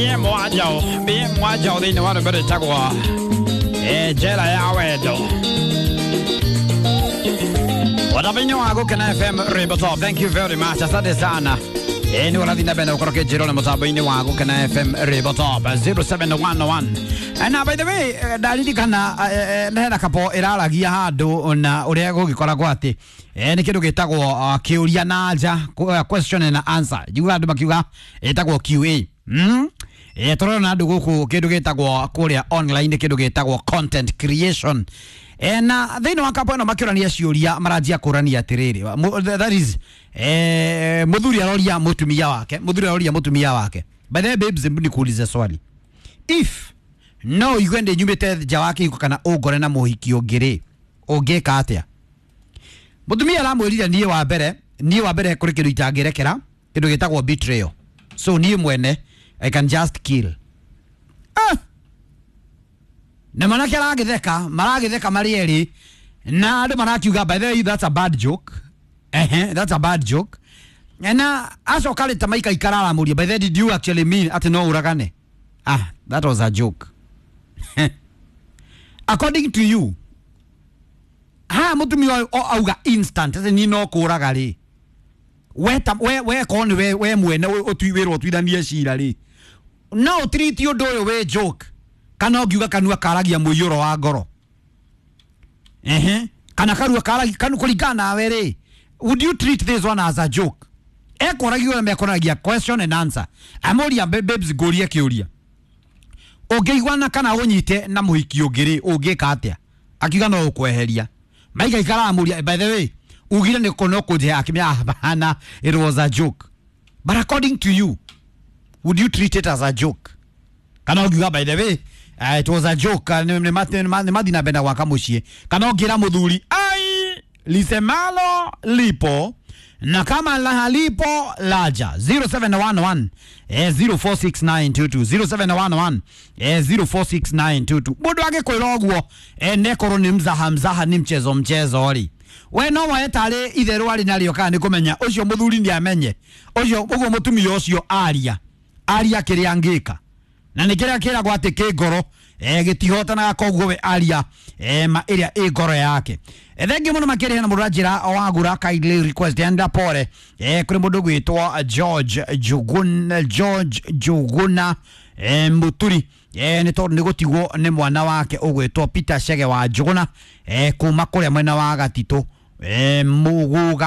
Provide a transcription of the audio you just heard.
Mwajao thĩinĩ wa rwĩmbo rwĩtagwo njera ya wendo watabainĩ wa Gũkena FM rwĩmbo top. Thank you very much, asante sana. Nĩ ũrathiĩ na mbere na gũkorwo kĩnjĩro na mũtambo-inĩ wa Gũkena FM rwĩmbo top 0711. Na by the way, ndaririkana hena kapo ĩraragia handũ na ũrĩa gũgĩkoragwo atĩ nĩ kĩndũ gĩtagwo kĩũria na anja, question and answer. Njiguaga andũ makiuga ĩtagwo QA. Tũrona andũ gũkũ kĩndũ gĩtagwo kũrĩa online, kĩndũ gĩtagwo content creation. Na thĩinĩ wa kapo ĩno makĩũrania ciũria, maranjia kũrania atĩrĩrĩ, that is, mũthuri aroria mũtumia wake, mũthuri aroria mũtumia wake, "By the way, babes, hebu nikuulize swali. If no ũigue ndĩ nyumĩte nja wa kĩhiko kana ũngore na mũhiki ũngĩ rĩ, ũngĩka atĩa?" Mũtumia aramwĩrire, Niĩ wa mbere kũrĩ kĩndũ itangĩrekera, kĩndũ gĩtagwo betrayal, so niĩ mwene I can just kill." Ah! Na manake aragĩtheka, maragĩtheka marĩ erĩ, na andũ marakiuga, "By the way, that's a bad joke." Ehe, that's a bad joke. Na acoka rĩ ta maikaikara aramũria, "By the way, did you actually mean atĩ no ũragane?" "Ah, that was a joke." According to you, haha mũtumia ũyũ auga instant atĩ niĩ no kũraga rĩ, we ta we korwo nĩ we mwene wĩrwo ũtuithanie cira rĩ, no ũtiriti ũndũ ũyũ wĩ joke, kana ũngiuga kanua karagia mũiyũro wa ngoro? Ehe, kana karua karagia kanu, kũringana nawe rĩ, would you treat this one as a joke? Ekoragia ũrĩa mekoragia question and answer. Amũria, "Babes, ngũrie kĩũria, ũngĩiguana kana ũnyite na mũhiki ũngĩ rĩ, ũngĩka atĩa?" Akiuga no ũkweheria. Maikaikara amũria, "By the way, ugire nĩ no kũnjĩha." Akĩmenya, "Hapana, it was a joke." But according to you, would you treat it as a joke, kana ũngiuga, "By the way, it was a joke, nĩ mathi na mbere na gwaka mũciĩ"? Kana ũngĩra mũthuri, "Ai, lisemalo lipo na kama la halipo laja"? 0711 046922, 0711 046922. Mũndũ angĩkwĩra ũguo, nekorwo nĩ mzaha mzaha, nĩ mchezo mchezo rĩ, we no woe tarĩ itherũ arĩ narĩo, kana nĩ kũmenya ũcio mũthuri nĩ amenye ũcio ũguo mũtumia ũcio aria aria kĩrĩa angĩka, na nĩ kĩrĩa kĩragwo atĩ kĩ ngoro gĩtihotanaga, koguo we aria ma ĩrĩa ĩ ngoro yake. Thengiũ mũno makĩrĩa na mũndũ anjĩra wagura, kindly request enda pore kũrĩ mũndũ gwĩtwo George Njuguna, George Njuguna Muturi, nĩ tondũ nĩ gũtigwo nĩ mwana wake ũgwĩtwo Peter Chege wa Njuguna, kuma kũrĩa mwena wa Gatitũ, Muguga.